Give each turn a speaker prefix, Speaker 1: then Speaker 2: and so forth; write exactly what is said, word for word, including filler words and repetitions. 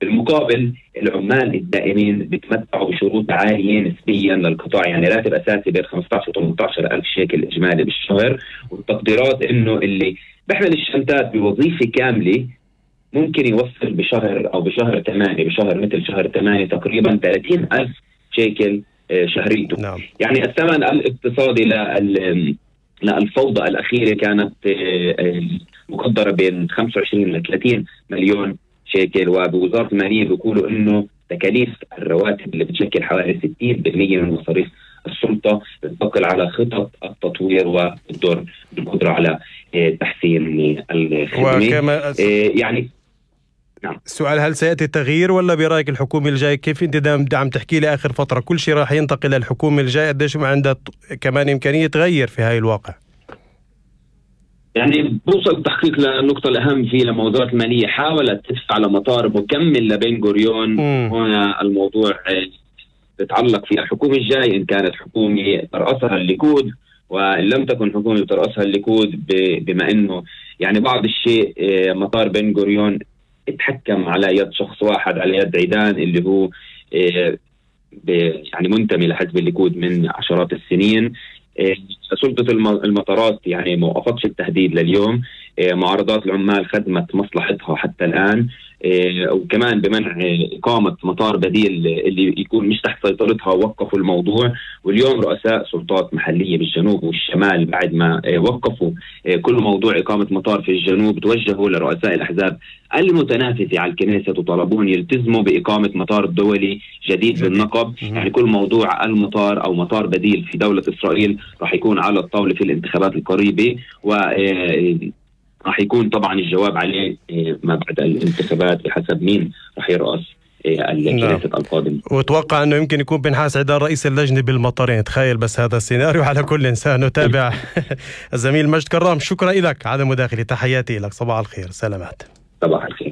Speaker 1: بالمقابل العمال الدائمين بيتمتعوا بشروط عالية نسبيا للقطاع، يعني راتب أساسي بين خمسة عشر و ثمانية عشر ألف شيكل إجمالي بالشهر، والتقديرات إنه اللي بيحمل الشنطات بوظيفة كاملة ممكن يوصل بشهر أو بشهر ثمانية بشهر مثل شهر ثمانية تقريبا ثلاثين ألف شيكل شهريته.
Speaker 2: نعم.
Speaker 1: يعني الثمن الاقتصادي لل للفوضى الأخيرة كانت مقدرة بين خمسة وعشرين ل ثلاثين مليون شيكل، وبوزارة المالية بيقولوا إنه تكاليف الرواتب اللي بتشكل حوالي ستين بالمئة من مصاريف السلطة بتنتقل على خطط التطوير والدور بالقدرة على تحسين الخدمة. يعني
Speaker 2: نعم. السؤال، هل سيأتي التغيير ولا برأيك الحكومة الجاي كيف انت دام عم تحكي لي آخر فترة كل شيء راح ينتقل للحكومة الجاي، قديش ما عندها كمان إمكانية تغير في هاي الواقع؟
Speaker 1: يعني بوصل التحقيق للنقطة الأهم فيه لما وزارة المالية حاولت تدفع لمطار مكمل لبن غوريون. هنا الموضوع يتعلق في الحكومة الجاي، إن كانت حكومة ترأسها الليكود وإن لم تكن حكومة ترأسها الليكود، بما إنه يعني بعض الشيء مطار بن غوريون اتحكم على يد شخص واحد، على يد عيدان اللي هو يعني منتمي لحزب الليكود من عشرات السنين. سلطة المطارات يعني ما وقفتش التهديد لليوم، معارضات العمال خدمت مصلحتها حتى الآن، وكمان بمنع إقامة مطار بديل اللي يكون مش تحت سيطرتها وقفوا الموضوع. واليوم رؤساء سلطات محلية بالجنوب والشمال بعد ما وقفوا كل موضوع إقامة مطار في الجنوب توجهوا لرؤساء الأحزاب المتنافسة على الكنيسة وطلبون يلتزموا بإقامة مطار دولي جديد بالنقب. يعني كل موضوع المطار أو مطار بديل في دولة إسرائيل راح يكون على الطاولة في الانتخابات القريبة، و راح يكون طبعا الجواب عليه ما بعد الانتخابات بحسب مين راح يرأس الكنيسة القادم.
Speaker 2: وتوقع أنه يمكن يكون بنحاس عدار رئيس اللجنة بالمطارين. تخيل بس هذا السيناريو. على كل إنسان نتابع. الزميل مجد كرام، شكرا لك على مداخلة. تحياتي لك، صباح الخير. سلامات.
Speaker 1: صباح الخير.